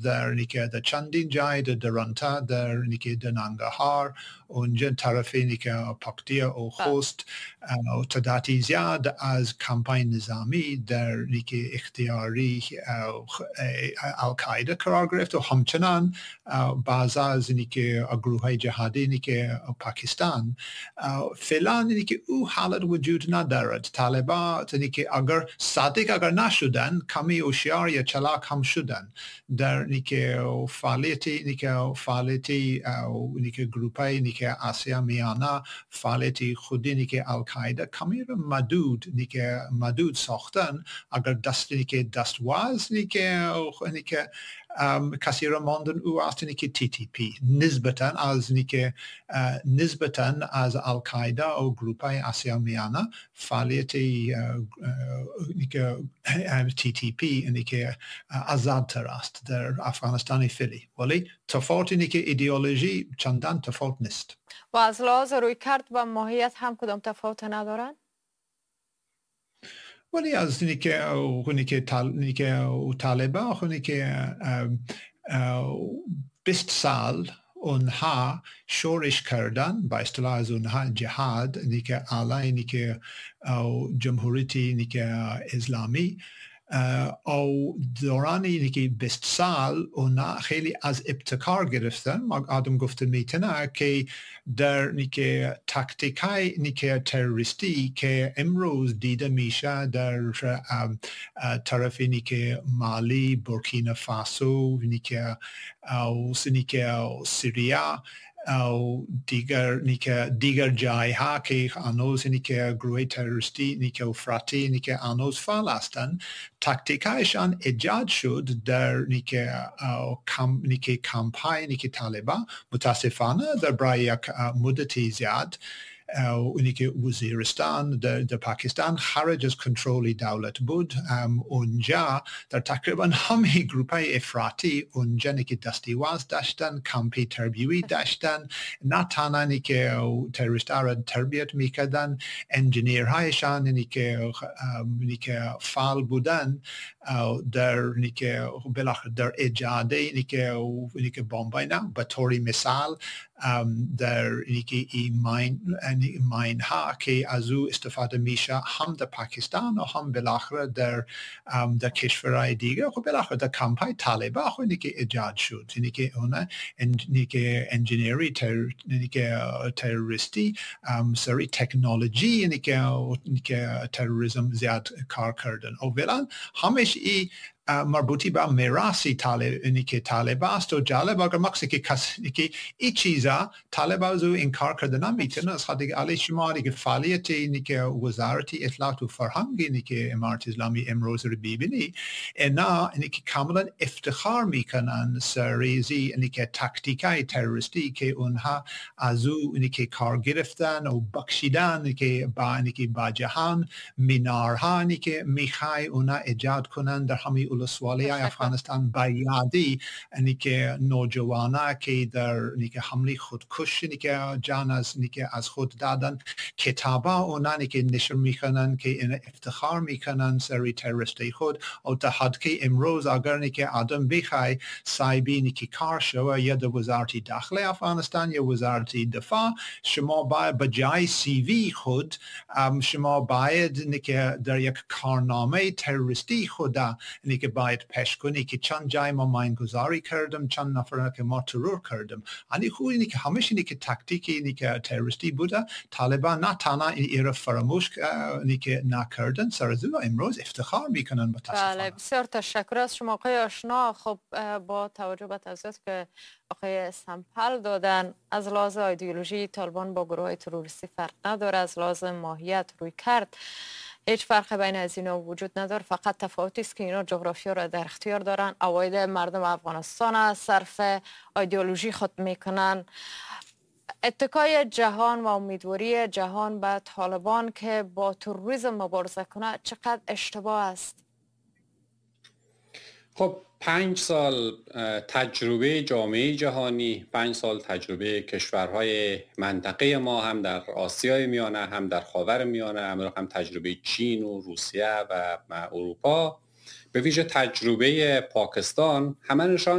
در نیکه در چندین جای در درانتا، در نیکه در ننگرهار، اونجا طرف نیکه پاکتیا و خوست و تعداد زیاد از کمپاین نظامی در نیکه اختیاری القاعده قرار گرفت و همچنان بعض از نیکه گروه های جهادی نیکه پاکستان. فعلا نیکه او حالت وجود ندارد. طالبان نیکه اگر صادق اگر نشدن، کمی هوشیار یا چلاک هم شدن در نیکه فعالیتی نیکه فعالیتی نیکه گروپای نیکه آسیا میانه، فعالیتی خودی نیکه القاعده کمی را مدود نیکه مدود ساختن. اگر دست نیکه دستواز نیکه کسی را ماندن، او است نیکه TTP نسبتا از نیکه نسبتا از القاعده و گروپای آسیا میانه، فعالیت نیکه TTP نیکه آزادتر است در افغانستان فعلی، ولی تفاوت نیکه ایدئولوژی چندان تفاوت نیست. و از لحاظ رویکرد و ماهیت هم کدام تفاوت ندارند؟ ولی از نیکه طالبان خونی که 20 سال اونها شورش کردن، با اصطلاح از اونها جهاد نیکه علیه نیکه جمهوریتی نیکه اسلامی، او دوران اینی 20 سال اونا خیلی از ابتکار گرفتن. ما آدم گفته میتونه که در نیکه تاکتیک های نیکه تروریستی که امروز دیده میشه در طرف نیکه مالی، بورکینا فاسو، نیکه سوریا او دیگر نیکه دیگر جایها که هنوز نیکه گروه تروریستی نیکه افراطی نیکه هنوز فعال هستند، تاکتیک هایشان ایجاد شد در نیکه کم نیکه کمپای نیکه طالبان. متاسفانه در برای یک مدتی زیاد اونی که وزیرستان در پاکستان خارج از کنترل دولت بود. اونجا در تقریبا همه گروپ های افراطی اونجا که دستیواز داشتن، کمپی تربیوی داشتن، نه تنها که تروریست را تربیت میکردن، engineer هایشان که فعال بودن در نیکه بالاخره در ایجاد نیکه بمبای نه، به طور مثال در اینکه ای mine ها که از او استفاده میشه هم در پاکستان و هم بالاخره در کشورهای دیگه، خب بالاخره در کمپای طالبان خب اینی که ایجاد شد، اینی که اون اینی که engineer ی اینی که تروریستی سری تکنولوژی اینی که تروریسم زیاد کار کردن و فعلا همش ای مربوطی به میراثی طالب اینی که طالب است. و جالب اگر مقصد که کس که این چیزا طالب از او انکار کرده نمیتونه، از خاطر علی شما که فعالیت اینی که وزارت اطلاعات و فرهنگ اینی که امارت اسلامی امروز رو ببینی، اینا اینی که کاملا افتخار میکنن سریزی اینی که تاکتیک های تروریستی که اونها از او اینی که کار گرفتن و بخشیدن که با اینی که با جهان مینارها اینی که میخوای اونا ایجاد کنن در همه ولسوالی افغانستان با یادی اینی که نوجوانا که در اینی که حمله خودکش اینی که جان از اینی که از خود دادن. کتابا اونا اینی که نشر میکنن که این افتخار میکنن سری تروریستی خود، و تا حد که امروز اگر اینی که آدم بخوای صاحبی اینی که کار شوه یا در وزارت داخل افغانستان یا وزارت دفاع، شما باید به جای CV خود شما باید اینی که در یک کارنامه تروریستی خود اینی که باید پیش کنی که چند جای ما ماین گذاری کردم، چند نفر که ما ترور کردم. یعنی خو اینی که همیشه اینی که تاکتیک اینی که تروریستی بوده. طالبان نه تنها این را فراموش اینی که نکردن، سر از امروز افتخار میکنن متاسفانه. بله، بسیار تشکر از شما آقای آشنا. خب، با توجه به توضیحات که آقای سمپل دادن، از لحاظ ایدئولوژی طالبان با گروه تروریستی فرق نداره، از لحاظ ماهیت، رویکرد هیچ فرق بین از اینا وجود نداره، فقط تفاوتی است که اینا جغرافیا را در اختیار دارن، عواید مردم افغانستان از صرف ایدئولوژی خود میکنن. اتکای جهان و امیدواری جهان به طالبان که با تروریسم مبارزه کنه چقدر اشتباه است؟ خب، 5 سال تجربه جامعه جهانی، 5 سال تجربه کشورهای منطقه ما، هم در آسیای میانه، هم در خاور میانه، هم تجربه چین و روسیه و اروپا، به ویژه تجربه پاکستان، همه نشان